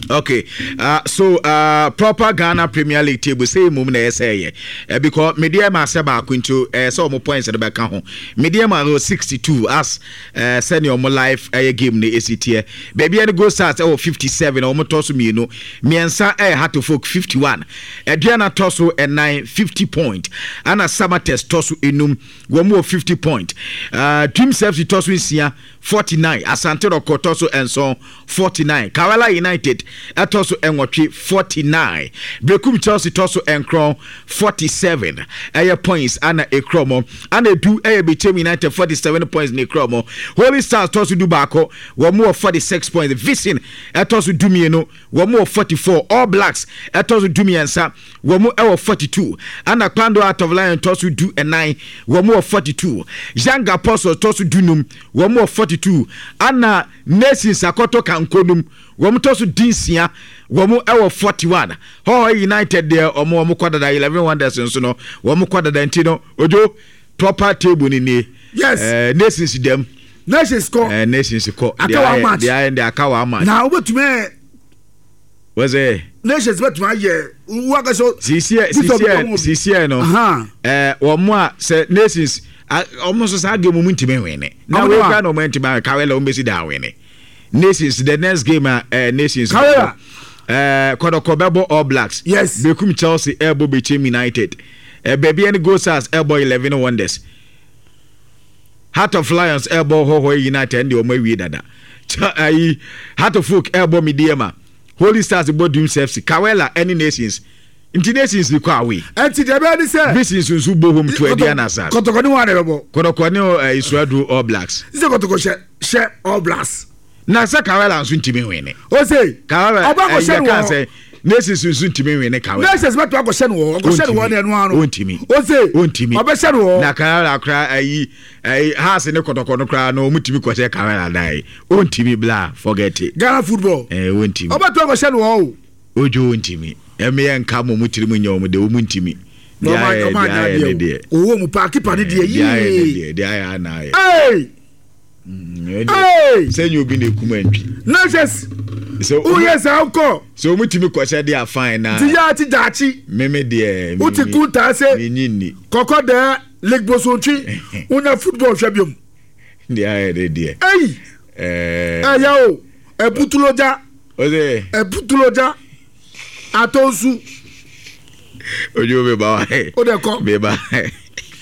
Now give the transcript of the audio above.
Okay, so proper Ghana Premier League table sɛ mmom na ɛsɛ yɛ because Medeama asɛ baako nti ɛyɛ sɛ ɔmo points no bɛka ho. Medeama wɔ 62 as sɛnea ɔmo life ɛyɛ game no esi teɛ. Baabi ɛne Gold Stars ɛwɔ 57, ɔmo tɔ so mmienu. Mmiɛnsa ɛyɛ Hearts of Oak 51. Aduana tɔ so ɛnan 50 point. Ana Samatex tɔ so enum, wɔn wɔ 50 point. Dreams FC tɔ so nsia 49. Asante Rɔkɔ tɔ so nson 49. Karela United ɛtɔ so nwɔtwe 49. Berekum Chelsea tɔ so nkron 47 ɛyɛ points ana ekura mo. Ana edu ɛyɛ Bechem United 47 points na ekura mo. Holy Stars tɔ so du baako, wɔn wɔ 46 points. Vision ɛtɔ so du mmienu, wɔn wɔ 44. All Blacks ɛtɔ so du mmiɛnsa, wɔn ɛwɔ 42. Ana Kpando Heart of Lion tɔ so du ɛnan, wɔn wɔ 42. Young Apostles tɔ so du num, wɔn wɔ 42. Ana Nations akɔtɔ kanko num, wɔn tɔ so di nsia, wɔn wɔ 41. Hohoe United deɛ wɔn kɔ dada. 11 Wonders nso no wɔn kɔ dada. Nti no ojo proper table ni nie. Yes. Nations dɛm. Nations kɔ. Nations kɔ. Aka one match. Deɛ ayɛ deɛ aka one match. Na wobɛtumi. Wɔsɛ. Nations bɛtumi ayɛ wakasɛ. Sisiɛ sisiɛ sisiɛ no. Wɔn a sɛ Nations wɔn nso saa game mu ntumi nwene. Na wei kura na wɔn ntumi awɛ kawela wɔn bɛsi da awene. Nations the next game a Nations. Kawela. Kɔdɔkɔ bɛbɔ All Blacks. Yes. Bekum Chelsea ɛbɔ Bechem United. Baabi ɛne Gold Stars ɛbɔ 11 Wonders. Heart of Lions ɛbɔ Hohoe United ɛne wɔn awie dada. Ayi Heart of Oak ɛbɔ Medeama. Holy Stars bɔ Dreams FC. Kawela ɛne Nations. Nti Nations ni kɔ away. Ɛnti deɛ bɛyɛ ni sɛ. Visions nso bɔ home to Aduana Stars. Kɔtɔkɔ ni wɔn a na ɛbɛbɔ. Kɔtɔkɔ ne Isuadu All Blacks. Sɛ kɔtɔkɔ hyɛ hyɛ All Blacks. Na sɛ Kawela nso ntumi nwene. O se. Kawela ɔba akɔhyɛ no wɔ. Sɛ Nations nso ntumi nwene Kawela. Nations bɛtɔ akɔhyɛ no wɔ ɔkɔhyɛ no wɔ ne ɛno ano. Ontumi. O se. Ontumi. Ɔbɛhyɛ no wɔ. Na Kawela kora ayi ayi Hearts ne kɔtɔkɔ no kora no wɔn tumi kɔhyɛ Kawela dan. Ontumi bla forget it. Ghana football. Ontumi. Ɔbɛtɔ akɔhyɛ no wɔ o. Ojo ontumi. Ɛmeyɛ nka mo mo tirim nyɛ wɔn de wɔn ntumi. Deɛ ayɛ deɛ ayɛ ne deɛ. Owó mu paa kipa ne deɛ yie. Deɛ ayɛ ne deɛ deɛ ayɛ ana ayɛ. Hey! Hey! Sɛ nye obi na ekum antwi. Nurses. Sɛ woyɛ saa wokɔ. Sɛ wɔn tumi kɔhyɛ deɛ afan na. Ti yɛ ati daakye. Meme deɛ. Wote kuntaa se. Menyi nni. Kɔkɔ dɛɛ Lake Bosontwi wonya football hwɛ biom. Deɛ ayɛ ne deɛ. Ei! Ɛyɛ o ɛbutulogya. Ose. Ɛbutulogya atɔ nsu. Ojo meba wa. O de kɔ. Meba.